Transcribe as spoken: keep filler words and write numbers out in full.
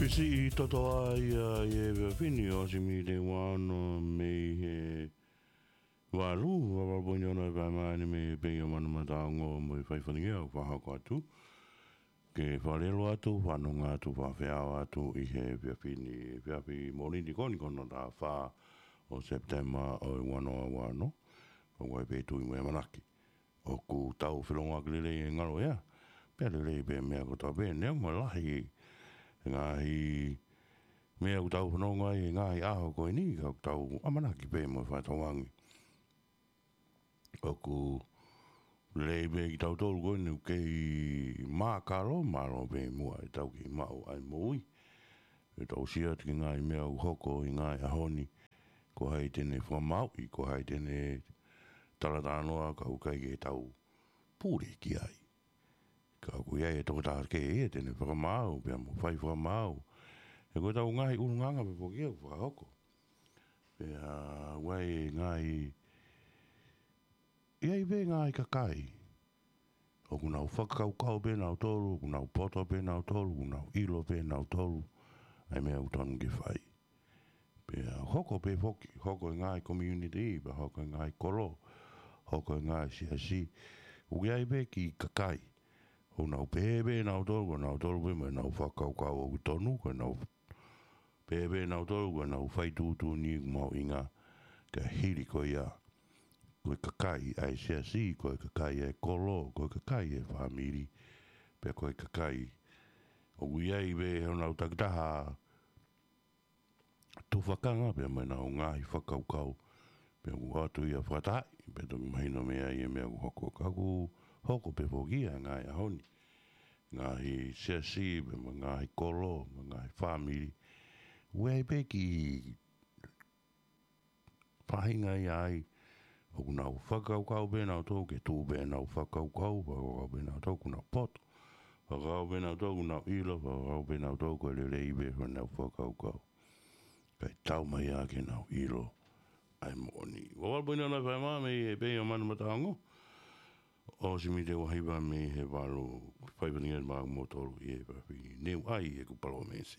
Pisi i toto ai a i e vea fini o si mi te wano mei he valu, valu poini ono e fai mai ni mei he pei o manu mataongo mo e fai faningia o fahako atu. Ke falelo atu, fanonga atu, fafeao atu i he vea fini, vea fi moni ni koni kono ta fa o September o e wano a wano. Ka wai pe tui mo e manaki. ʻOku tau felongoaki lelei e ngalo ea. Pea lelei pē meʻa ko tau pē, neongo lahi ngaahi meʻa ʻoku tau fanongo ai, ngaahi ʻaho ko eni, ka ʻoku tau ʻamanaki pē mo e fatongia. ʻOku lelei pē kitautolu ko eni ʻoku kei mākalo, mālō pē muʻa e tau kei maʻu ai moʻui. ʻE tau sio atu ki he ngaahi meʻa ʻoku hoko ʻi he ngaahi ʻaho ni, ko hai te ne fakamāuʻi, ko hai te ne talatalanoa ka ʻoku ʻikai ke tau pule ki ai. Ka ʻoku ʻi ai e tokotaha kehe ia te ne fakamaau, pea mo fai fakamaau. He ko e tau ngaahi ʻulungaanga pē foki ia ʻoku fakahoko. Pea ʻoku ʻi ai e ngaahi, ʻi ai pē ngaahi kakai ʻoku nau fakakaukau pē nautolu, ʻoku nau poto pē nautolu, ʻoku nau ʻilo pē nautolu ʻa e meʻa ʻoku tonu ke fai. Pea hoko pē foki, hoko e ngaahi community, pea hoko e ngaahi kolo, hoko e ngaahi siasi. ʻOku ʻi ai pē kiʻi kakai ʻoku nau pehē pē nautolu, ko nautolu pē mo ʻenau fakakaukau ʻoku tonu, ko ʻenau pehē pē nautolu, ko ʻenau fai tuʻutuʻuni ʻoku mahuʻinga. Ka hili ko ia, ko e kakai ʻa e siasi, ko e kakai ʻa e kolo, ko e kakai ʻa e fāmili, pea ko e kakai ʻoku ʻi ai pē honau takitaha tufakanga pea mo ʻenau ngaahi fakakaukau. Pea ʻoku ʻoatu ia fakatahaʻi, pea toki mahino mei ai e meʻa ʻoku hoko, ka ʻoku hoko pē foki ia he ngaahi ʻaho ni. Ngaahi siasi, pea mo e ngaahi kolo, mo e ngaahi fāmili. ʻOku ʻi ai pē kiʻi faʻahinga ia ai, ʻoku nau fakakaukau pē nautolu ke tuʻu pē ʻenau fakakaukau, fakakaukau pē nautolu ʻoku nau poto. Fakakaukau pē nautolu ʻoku nau ʻilo, fakakaukau pē nautolu ko e lelei pē honau fakakaukau. Kae tau mai ia ke nau ʻilo ʻa e moʻoni. Valu poini ono e fai mai mei he pei o manu mataongo. O si mi te wahiva mei he valu, fai faningia ma mo tolu i e fafini. Neu ai ʻeku palōmesi.